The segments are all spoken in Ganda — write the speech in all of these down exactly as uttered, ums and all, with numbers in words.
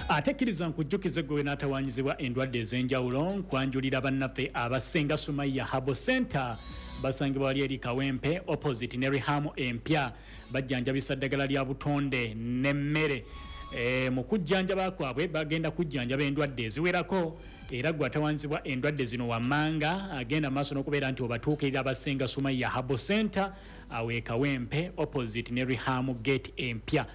Ate kkiriza nkujjukize gwe n'atawanyizibwa endwadde ez'enjawulo, nkwanjulira bannaffe abasenga Sumaya Herbal Center, basangibwa wali eri Kawempe opposite ne Reham empya. Bajjanjabisa ddagala lya butonde n'emmere. E, mu kujjanjaba kwabwe bagenda kujjanjaba endwadde eziwerako, era gwe atawanzibwa endwadde zino wammanga agenda maaso n'okubeera nti obatuukirira abasenga Sumaya Herbal Center awo e Kawempe opposite ne Reham Gate empya.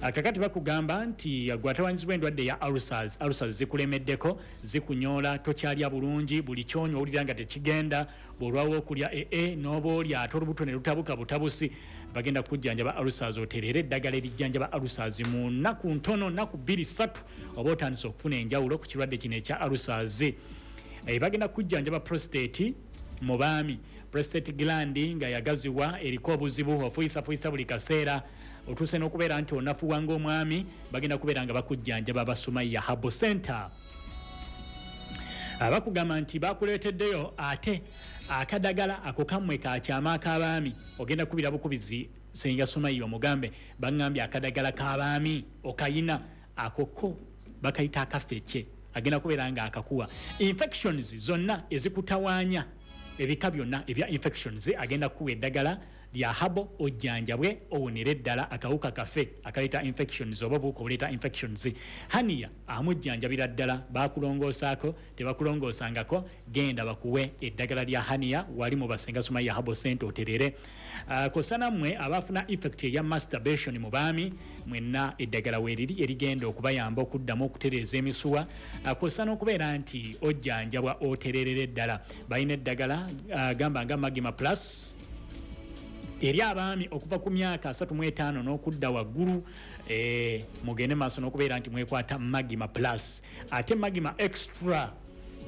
Kakati bakugamba nti gwe atawanyizibwa endwadde ya ulcers, ulcers zikulemeddeko, zikunyoola, tokyalya bulungi, buli kyonywa owulira nga tekigenda, bw'olwawo okulya ee n'oba olya ate olubuto ne lutabuka butabusi, bagenda kujjanjaba ulcers otereere eddagala erijjanjaba ulcers mu nnaku ntono, nnaku bbiri ssatu oba otandise okufuna enjawulo ku kirwadde kino ekya ulcers. E, bagenda kujjanjaba prostate mu baami, prostate gland nga yagaziwa, eriko obuzibu, ofuyisafuyiса buli kaseera, otuuse n'okubeera nti onafuwa ng'omwami, bagenda kubeera nga bakujjanjaba Abasumaya Herbal Center. Abakugamba nti bakuleeteddeyo ate akadagala ako kammwe kakyama ak'abaami, ogenda kubira bukubizi Senga Sumaya omugambe baŋŋambye akadagala k'abaami okayina, ako ko bakayita akafeke, agenda kubeera nga akakuwa. Infections zonna ezikutawaanya, ebika byonna ebya infections, agenda kuwa eddagala lya habo ojjanjabwe owonere ddala akawuka kafe akaleeta infections oba obuwuka obuleeta infections. Hania amujjanjabira ddala, bakulongoosaako tebakulongoosangako, genda bakuwe eddagala lya hania wali mu Basenga Sumaya Herbal Center oterere. Uh, kosa nammwe abafuna effect eya masturbation mu baami, mwenna eddagala weeriri erigenda okubayamba okuddamu okutereeza emisuwa, uh, kosa n'okubeera nti ojjanjabwa otererere ddala. Balina eddagala uh, gamba nga Magma Plus eri abaami okuva ku myaka asatu mu etaano n'okudda waggulu, e, mugende maaso n'okubeera nti mwekwata Magma Plus. Ate Magma Extra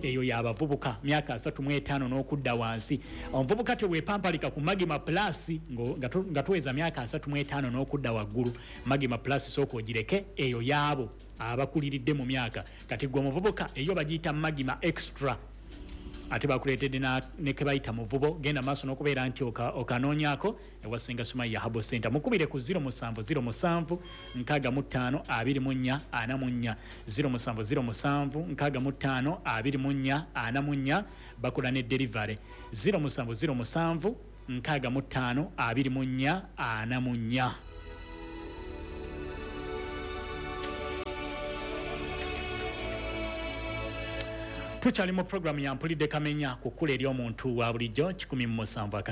eyo y'abavubuka myaka asatu mu etaano n'okudda wansi. Omuvubuka teweepampalika ku Magma Plus nga tuweza myaka asatu mu etaano n'okudda waggulu. Magma Plus sooka ogireke, eyo y'abo abakuliridde mu myaka. Kati gwe omuvubuka eyo bagiyita Magma Extra, ate bakuleetedde ne ke bayita muvubo, genda maaso n'okubeera nti okanoonyaako ewasenga Sumaya Herbal Center. Mukubire ku ziro musanvu ziro musanvu nkaaga mu ttaano abiri mu nnya ana mu nnya, ziro musanvu ziro musanvu nkaaga mu ttaano abiri mu nnya ana mu nnya, bakola ne delivery ziro musanvu ziro musanvu nkaaga mu ttaano abiri mu nnya ana mu nnya. Tukyali mu programu ya Mpulidde Kamenya ku kkula eri omuntu wa bulijjo kikumi mu musanvu akatono.